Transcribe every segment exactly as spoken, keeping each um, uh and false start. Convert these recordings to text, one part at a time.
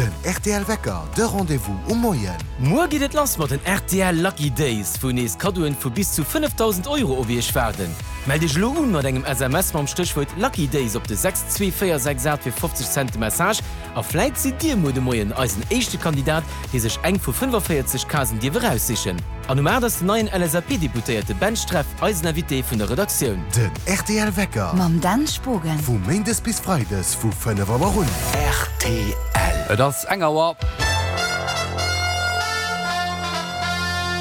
Den rtl Wecker, de Rendez-vous um Moien. Muer geet et lass mat den rtl Lucky Days, wou nees Kaddoen vu bis zu fënnefdausend Euro op iech waarden. Mellt iech elo un mat engem S M S mam Stéchwuert Lucky Days op de sechs zwee véier sechs aacht fir fofzeg Cent de Message a vläit sidd dir muer de Moien eisen éischte Kandidat, dee sech eng vu fënnefavéierzeg Casen dierf eraussichen. An um aacht ass den neien L S A P-Deputéierte Ben Streff eisen Invité vun der Redaktioun. Den rtl Wecker. Mam Dan Spogen. Vu méindes bis freides vu fënnef Auer un. R T L. Et ass eng Auer.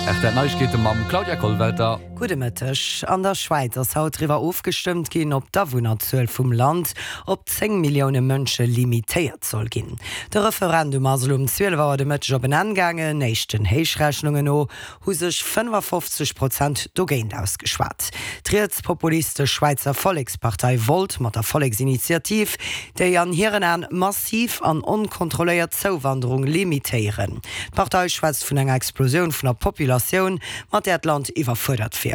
R T L Neiegkeete mam Claudia Kollwelter. Gudde Mëtteg. An der Schwäiz ass haut driwwer ofgestëmmt ginn, ob d'Awunnerzuel vum Land op zéng Millioune Mënsche limitéiert soll ginn. De Referendum ass elo um zwielef Auer de Mëtteg op en Enn gaangen. Éischten Héichrechnungen no hu sech fënnefafofzeg Prozent dogéint ausgeschwat. D'rietspopulistesch Schwäizer Vollekspartei wollt mat der Volleksinitiativ déi an hiren Aen massiv an onkontrolléiert Zouwanderung limitéieren. D'Partei schwätzt vun enger Explosioun vun der Populatioun, mat där d'Land iwwerfuerdert wier.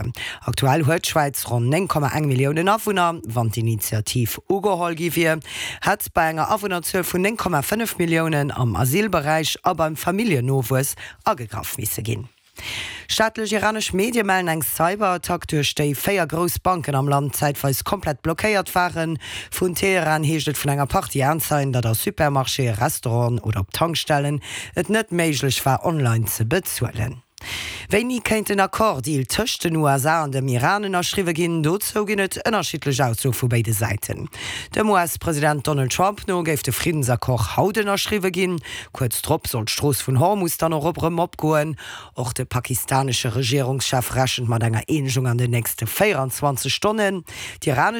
Aktuell huet d'Schwäiz ronn néng Komma eng Milliounen Awunner. Wann d'Initiativ ugeholl gi wier, hätt bei enger Awunnerzuel vun néng Komma fënnef Milliounen am Asylberäich a beim Familljennowuess agegraff misse ginn. Staatlech iranesch Medie mellen eng Cyberattack, duerch déi véier grouss Banken am Land zäitweis komplett blockéiert waren. Vun Teheran heescht et vun enger Partie Aenzeien, datt a Supermarchéen, Restauranten oder op Tankstellen et net méiglech war, online ze bezuelen. Wéini kéint en Accord-Deal tëscht den U S A an dem Iran ënnerschriwwe ginn? Dozou ginn et ënnerschiddlech Aussoe vu béide Säiten. Dem U S-President Donald Trump no géif de Friddensaccord haut ënnerschriwwe ginn. Kuerz drop soll d'Strooss vun Hormus dann och op erëm opgoen. Och de pakistanesche Regierungschef rechent mat enger Eenegung an den nächste véieranzwanzeg Stonnen. D'iranesch